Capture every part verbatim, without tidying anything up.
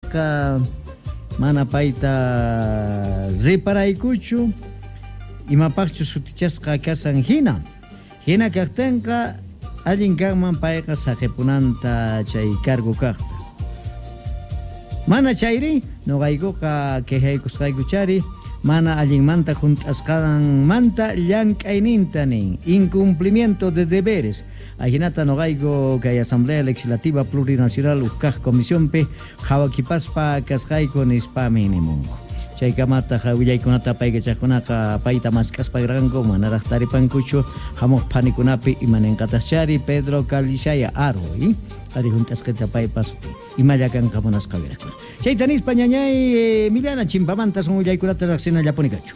Chayqa mana payta riparaykuchu imapaqchu sutichasqa kasan hina. Hina kaqtinqa allin kanman payqa saqipunanta chay cargo kaqta. Mana chayri noqaykuqa quejaykusqaykuchari mana allinmanta junt'asqanmanta llank'ayninta nin incumplimiento de deberes. Ajinata noqayku kay Asamblea Legislativa Plurinacional ukkaq Comisiónpi qhawakipaspa kasqayku nispami nimunku. Chaykamataq willaykunata paykachaqkunaqa payta mask'aspa karqanku manaraq taripankuchu hamuq phanikunapi imaninqataqchari Pedro Callisaya Aro y ari junt'asqita paypas imalla kanqa munasqa wirakuna. Chayta nispa ñañay eh, Milana chimpamanta son willaykunata riqsinallapuni kachu.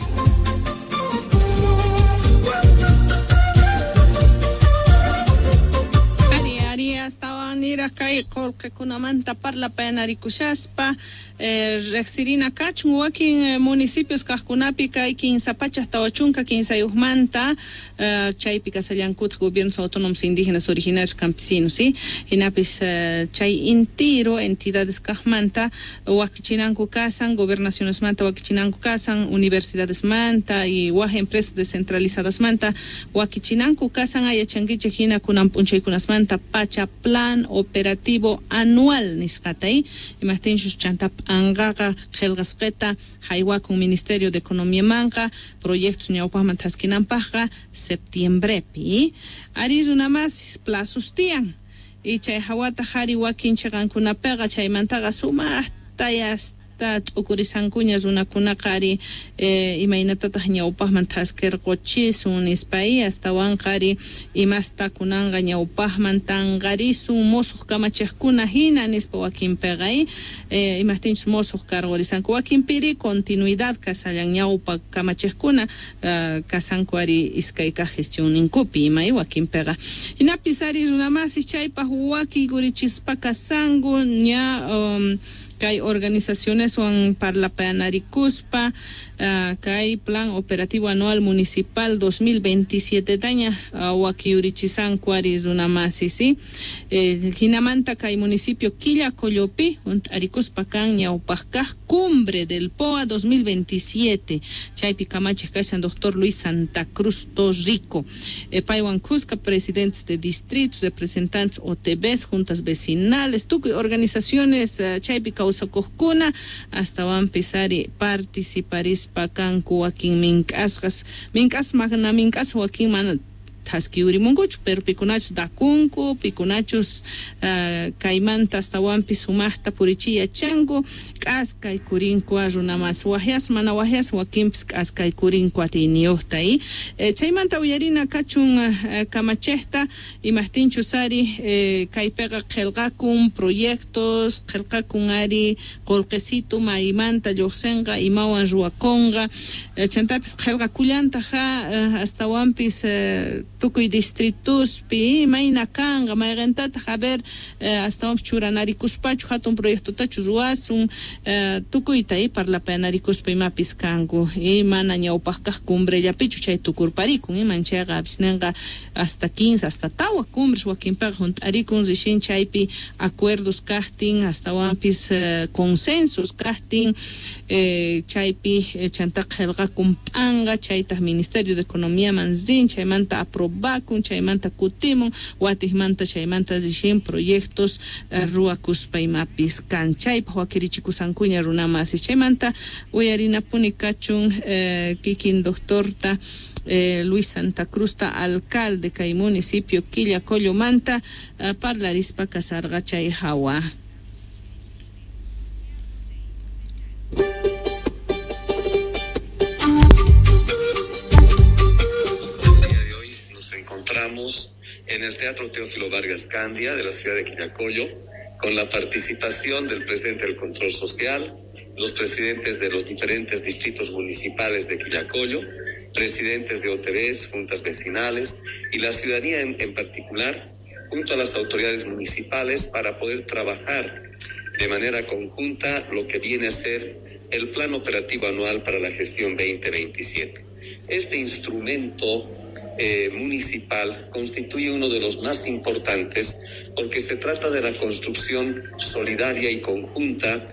Ari, ari, astawan niraq kay qullqikunamanta parlapayanarikushaspa eh, riqsirina kachun wakin eh, municipios kaqkunapi kay kinsa pachak tawa chunka kinsayuqmanta eh, chaypi kasallankutaq gobiernos autónomos indígenas originarios campesinos, ¿sí? Hinapis eh, chay intiro entidades kaqmanta wakichinanku kasan gobernacionesmanta wakichinanku kasan universidadesmanta y waj empresas descentralizadasmanta wakichinanku kasan ayachankichik hina kunan p'unchaykunasmanta pacha plan operativo anual nisqata, ¿eh? Imajtinchus chanta p'anqaqa qillqasqita haywakun Ministerio de Economía manqa proyectos ñawpaqman thaskinanpaqqa septiembrepi, ¿eh? Ari runamas plazos tiyan y chay hawata hari wakin chiqankunapiqa chaymantaqa sumaqta yasta t'ukurisankuña runakunaqa ari eh, imaynatataq ñawpaqman thaskirquchisun nispa y astawanqa ari imasta kunanqa ñawpaqman tanqarisun musuq kamachiqkuna hina nispa wakinpiqa y eh, imajtinchus musuq karqurisanku wakinpiri continuidad kasallan ñawpa kamachiqkuna uh, kasanku ari iskay kaq gestionninkupi ima y wakinpiqa hinapis ari runamasis chaypaq wakikurichispa kasanku ña um, kay organizacioneswan parlapayanarikuspa uh, kay plan operativo anual municipal dos mil veintisiete taña uh, wakiyurichisanku ari runamasi, ¿sí? Eh, hinamanta kay municipio Quillacollopi hunt'arikuspa kan ñawpaq kaq cumbre del P O A dos mil veintisiete chaypi kamachiq kashan doctor Luis Santa Cruz Torrico eh, paywan kuska presidentes de distritos, representantes O T Bs, juntas vecinales, tukuy organizaciones uh, chaypi kawsakuqkuna astawanpis ari participarispa kanku wakin mink'asqas mink'as mana mink'as wakin mana thaskiurimunkuchu pero pikunachus dakunku pikunachus uh, kaymanta astawanpis sumaqta purichiy yachanku k'askaykurinku runamas wajyas mana wajyas wakinpis k'askaykurinku atiyniyuqta y eh, chaymanta uyarina kachun uh, kamachiqta imajtinchus ari eh, kaypiqa qillqakun proyectos qillqakun ari qullqisitu maymanta lluqsinqa imawan ruwakunqa eh, chantapis qillqakullantaqa uh, astawanpis eh, tukuy distrituspi mayna kanqa mayqintataq a ver eh, astawanpis churanarikuspachu hatun proyectotachu ruwasun eh, tukuyta y parlapayanarikuspa imapis kanku y mana ñawpaq kaq cumbrellapichu chay tukurparikun iman chayqa apisninqa hasta quince hasta tawa cumbres wakinpiqa hunt'arikun rishin chaypi acuerdos kaqtin astawanpis eh, consensos kaqtin eh, chaypi eh, chanta qillqakun p'anqa chaytaq Ministerio de Economía man rin chaymanta aprobakun chaymanta kutimun watiqmanta chaymanta rishin proyectos eh, ruwakuspa imapis kan chaypaq wakirichikusankuña runamasis chaymanta uyarinapuni kachun eh, kikin doctorta eh, Luis Santa Cruzta alcalde kay municipio Quillacollomanta eh, parlarispa kasarqa chay hawa. En el Teatro Teófilo Vargas Candia de la ciudad de Quillacollo, con la participación del presidente del Control Social, los presidentes de los diferentes distritos municipales de Quillacollo, presidentes de O T Bs, juntas vecinales y la ciudadanía en, en particular, junto a las autoridades municipales para poder trabajar de manera conjunta lo que viene a ser el Plan Operativo Anual para la Gestión veinte veintisiete. Este instrumento eh, municipal constituye uno de los más importantes porque se trata de la construcción solidaria y conjunta